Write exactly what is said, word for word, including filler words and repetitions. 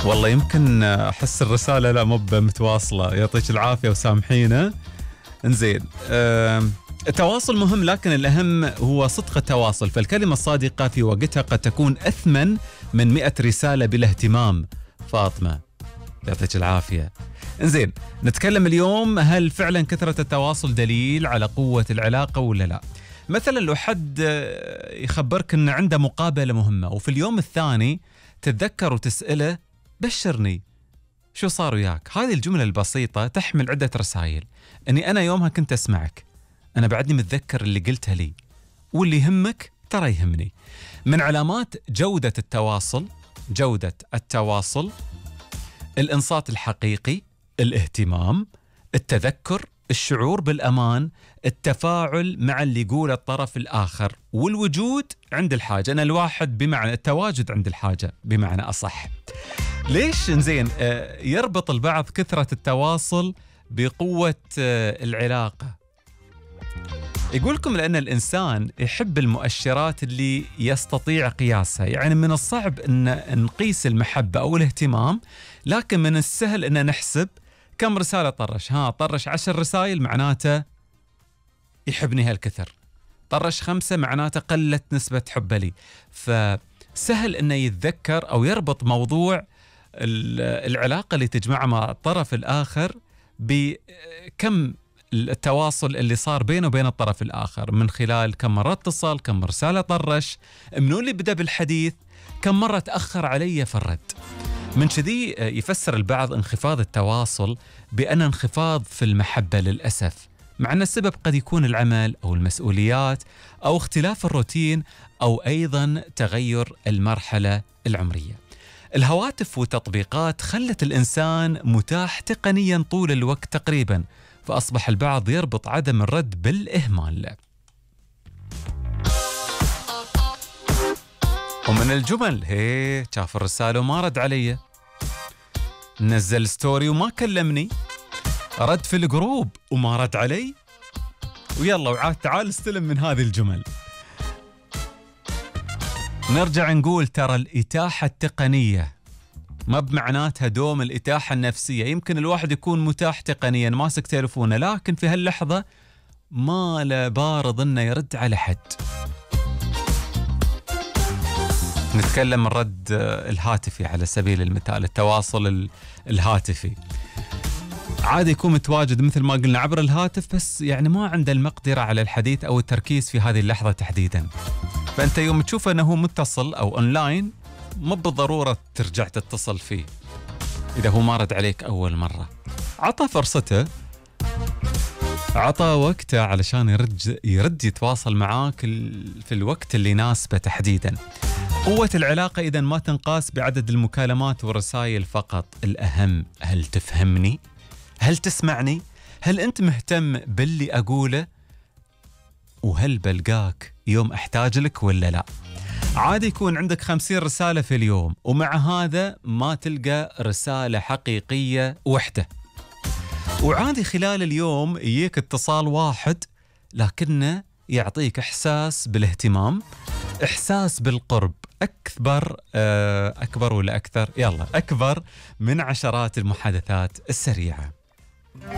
والله يمكن أحس الرسالة لا مو متواصلة. يعطيك العافية وسامحينا. انزين، أه التواصل مهم، لكن الأهم هو صدق التواصل. فالكلمة الصادقة في وقتها قد تكون أثمن من مئة رسالة بلا اهتمام. فاطمة يعطيك العافية. انزين، نتكلم اليوم هل فعلا كثرة التواصل دليل على قوة العلاقة ولا لا؟ مثلا لو حد يخبرك أن عنده مقابلة مهمة وفي اليوم الثاني تتذكر وتسأله بشرني شو صار وياك، هذه الجملة البسيطة تحمل عدة رسائل. أني أنا يومها كنت أسمعك، أنا بعدني متذكر اللي قلتها لي، واللي يهمك ترى يهمني. من علامات جودة التواصل جودة التواصل الإنصات الحقيقي، الاهتمام، التذكر، الشعور بالأمان، التفاعل مع اللي يقول الطرف الآخر، والوجود عند الحاجة. أنا الواحد بمعنى التواجد عند الحاجة بمعنى أصح. ليش إنزين آه يربط البعض كثرة التواصل بقوة آه العلاقة؟ يقولكم لأن الإنسان يحب المؤشرات اللي يستطيع قياسها. يعني من الصعب أن نقيس المحبة أو الاهتمام، لكن من السهل أن نحسب كم رسالة طرش. ها طرش عشر رسائل معناته يحبني هالكثر، طرش خمسة معناته قلت نسبة حبه لي. فسهل أنه يتذكر أو يربط موضوع العلاقة اللي تجمعه مع الطرف الآخر بكم التواصل اللي صار بينه وبين الطرف الآخر، من خلال كم مرة اتصل، كم رسالة طرش، منو اللي بدأ بالحديث، كم مرة تأخر علي في الرد. من كذي يفسر البعض انخفاض التواصل بأن انخفاض في المحبة للأسف، مع أن السبب قد يكون العمل أو المسؤوليات أو اختلاف الروتين أو أيضا تغير المرحلة العمرية. الهواتف والتطبيقات خلت الإنسان متاح تقنيا طول الوقت تقريبا، فأصبح البعض يربط عدم الرد بالإهمال. ومن الجمل هي شاف الرسالة وما رد علي، نزل ستوري وما كلمني، رد في الجروب وما رد علي، ويلا وعاد تعال استلم من هذه الجمل. نرجع نقول ترى الإتاحة التقنية ما بمعناتها دوم الإتاحة النفسية. يمكن الواحد يكون متاح تقنيا ماسك تلفونه، لكن في هاللحظة ما له بارض إنه يرد على حد. نتكلم الرد الهاتفي على سبيل المثال، التواصل الهاتفي عادي يكون متواجد مثل ما قلنا عبر الهاتف، بس يعني ما عنده المقدرة على الحديث أو التركيز في هذه اللحظة تحديدا. فأنت يوم تشوف أنه متصل أو أونلاين مو بالضرورة ترجع تتصل فيه إذا هو ما رد عليك أول مرة. عطى فرصته، عطى وقته علشان يرد, يرد يتواصل معاك في الوقت اللي يناسبه تحديدا. قوة العلاقة إذن ما تنقاس بعدد المكالمات والرسائل فقط، الأهم هل تفهمني؟ هل تسمعني؟ هل أنت مهتم باللي أقوله؟ وهل بلقاك يوم أحتاج لك ولا لا؟ عادي يكون عندك خمسين رسالة في اليوم ومع هذا ما تلقى رسالة حقيقية وحدة، وعادي خلال اليوم يجيك اتصال واحد لكنه يعطيك إحساس بالاهتمام، إحساس بالقرب أكبر أكبر ولا أكثر يلا أكبر من عشرات المحادثات السريعة.